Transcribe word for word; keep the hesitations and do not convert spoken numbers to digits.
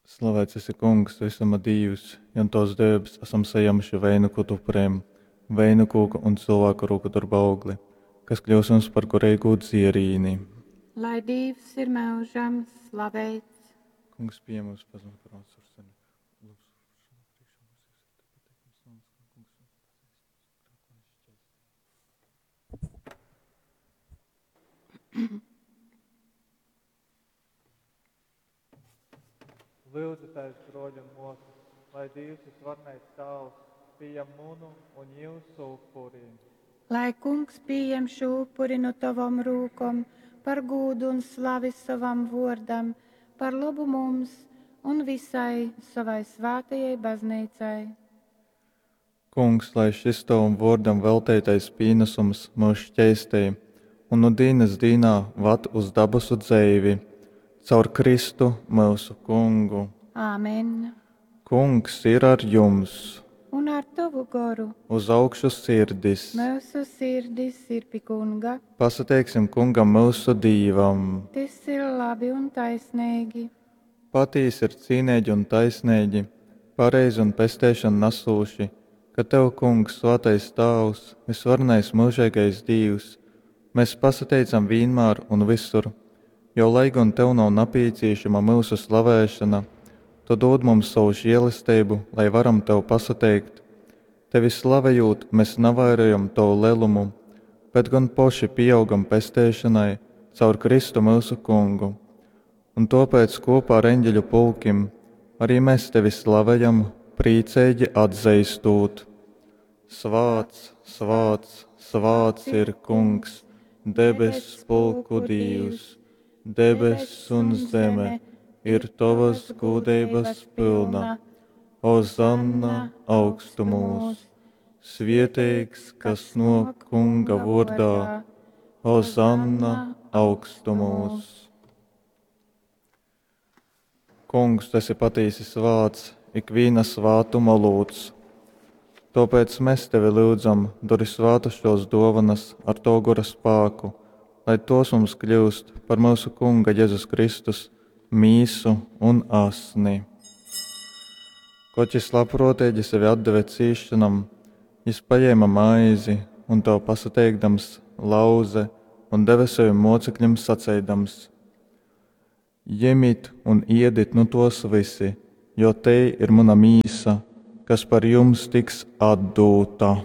Slavēts esi, Kungs, visuma Dīvs, jo nu Tavas devības esam sajēmuši veinu, ko Tu upurējam, veinu kūka un cilvēku roku darba augli, kas kļūs mums par goreīgū dzierīni. Lai Dīvs ir mūžam slaveits. Kungs, pieņem mums pazemes par ar sevi. Lūdzu, broļi un mosas, lai Dievs visvarenais Tāvs pieņem munu un jūsu upuri. Lai Kungs pieņem šo upuri no tavam rūkom par gūdu un slavi savam vārdam, par labu mums un visai savai svētajai baznīcai. Kungs, lai šis tavam vārdam veltītais pienesums mūs šķeistī un no dīnas dīnā vad uz dabasu dzeivi, caur Kristu mūsu Kungu. Āmen. Kungs ir ar jums! Un ar tavu goru. Uz augšu sirdis. Mūsu sirdis ir pie Kunga. Pasateiksim Kungam mūsu Dīvam. Tas ir labi un taisnīgi. Patīsi ir cīnīgi un taisnīgi, pareizi un pesteišanu nesūši, ka Tev, Kungs, svētais Tāvs, visvarenais mūžīgais Dīvs, mēs pasateicam vienmēr un visur, jo, lai gan Tev nav nepieciešama mūsu slavēšana, Tu dod mums savu žēlastību, lai varam Tev pasateikt. Tevi slavējot, mēs navairojam Tavu lelumu, bet gan poši pieaugam pesteišanai caur Kristu mūsu Kungu. Un tāpēc kopā ar eņģeļu pulkim arī mēs Tevi slavējam, priecīgi atzīstot. Svāts, svāts, svāts ir Kungs, debess pulku Dievs, debess un zeme ir tavas gudrības pilna. Ozanna augstumos, svieteigs, kas no Kunga vārdā, Ozanna augstumos. Kungs, tu esi patiesi svāts, ikviena svātuma lūdz. Tāpēc mēs tevi lūdzam, dori svātas šos dovanas ar to gora spēku, lai tos mums kļūst par mūsu Kunga Jēzus Kristus mīsu un asni. Koč jis labprātīgi sevi atdeve cīšanam, jis paņēma maizi un to pasateikdams lauze un deve saviem mocekļiem saceidams: Ņemiet un iedit nu tos visi, jo te ir mana mīsa, kas par jums tiks atdūta.